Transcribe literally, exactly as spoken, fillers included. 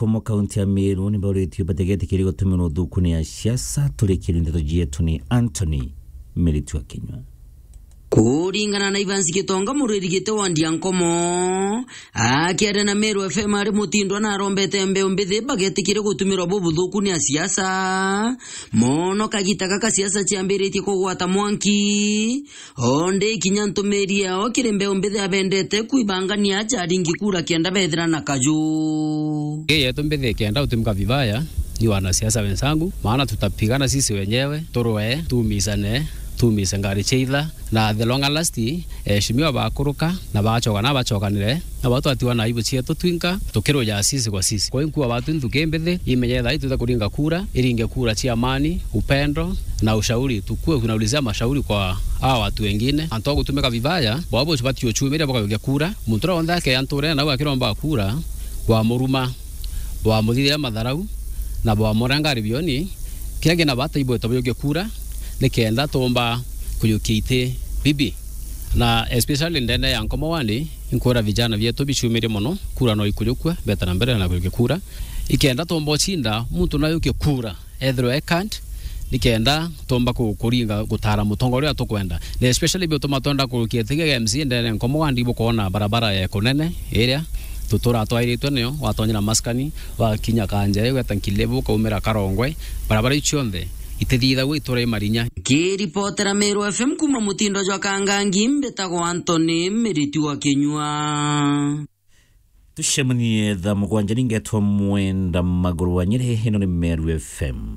Komo kaunti ya Meru ni bauritie bategetikiri gutumirwa uthukuni ya siasa. Turikirie ndeto cietu ni Anthony Miritu wa Kinyua. Kuringana na Evans Gitonga, muriri giti wa Ndiankomo, akiaria na Meru F M ari Mutindwa, na arombete mbeu mbithi bagetikire gutumirwa bubuthuku ni asiasa mono kagita gaka siasa ciambiritie kugwata mwanki. Onde kinya ntumiri yao kiri mbeu mbithi abendete kwibangania aja aringi kura kenda bethira na kaju. Hii yetu mbithi ikienda utumika vibaya, ni wanasiasa wenzangu, maana tutapigana sisi wenyewe, turwe, tuumisane, tuumise ngari cia itha, na the longer last, eheshimiwa bakuruka, na bachoka, na bachokanire, na batwatiwa na aibu cietu twinka, tukiruja sisi kwa sisi. Kwa hiyo nkuwa batu nthuki mbithi, imenye thaa ii twita kuringa kura, iringe kura cia amani, upendo, na ushauri. Tukue kunaulizia mashauri kwa hawa watu wengine. Antu a gutumika vibaya, bwabo bati uchumiria bukayukia kura. Muntu uria wonthe akeya nturene nau akiromba kura, bwamuruma, bwamuthithia matharau, na bwamurenga ribioni. Kiria kina bata ibweta buyukie kura, nikenda tumba kuyukia iti bibi. Na especially ndene ya Nkomo wandi, inkwira vijana vietu bichumirie mono, kura no ikuyukua, beta na mbere na kuyukia kura. Ikenda tumba ucinda, muntu no ayukie kura. Ethirwa e card, nikenda tumba ku-, kuringa gutara mutongoria uria tukwenda. Na especially bio tuma twenda kurukia tigege M C A ndene Nkomo wandi, bukoona barabara ya kunene iria tutura twairitwe niyo, watonyera maskani, wakinya Kanjai, gweta Nkilebu, ukaumira Karongwe, barabara icio cionthe itithithagua itura i marinya. Kiripotera Meru F M kuma Mutindo jwa Kangangi, mbitagwa Anthony Miritu wa Kinyua. Tucemanie thaa mugwanja ningetwa Mwenda Maguru wa Nyeri, ino ni Meru F M.